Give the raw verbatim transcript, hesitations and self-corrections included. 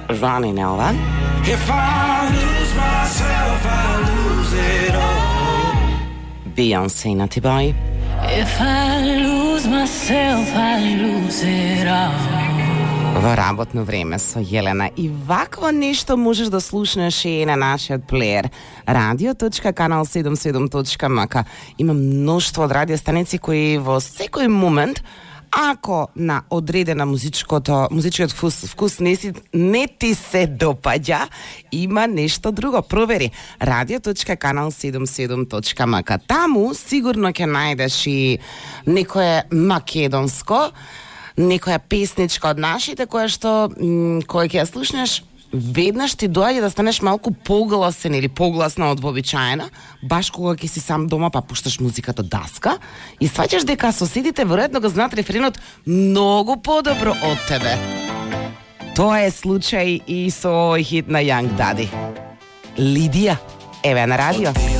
running over. If I lose myself, I lose it all. Beyoncé на T-Boy. If I lose myself, I lose it all. Во работно време со Јелена. И вакво нешто можеш да слушнеш и на нашиот плеер радио точка канал седумдесет и седум точка ем ка. Има мноштво од радиостаници кои во секој момент, ако на одредена музичкото, музичкиот вкус, вкус не, си, не ти се допаѓа, има нешто друго. Провери радио точка канал седумдесет и седум точка ем ка. Таму сигурно ќе најдеш и некое македонско, некоја песничка од нашите, која што, која ќе ја слушнеш, веднаш ти доаѓа да станеш малку погласен или погласна од вообичаена, баш кога ќе си сам дома па пушташ музиката даска и сваќаш дека соседите веројатно го знаат рефренот многу подобро од тебе. Тоа е случај и со овој хит на Young Daddy. Лидија, еве на радио.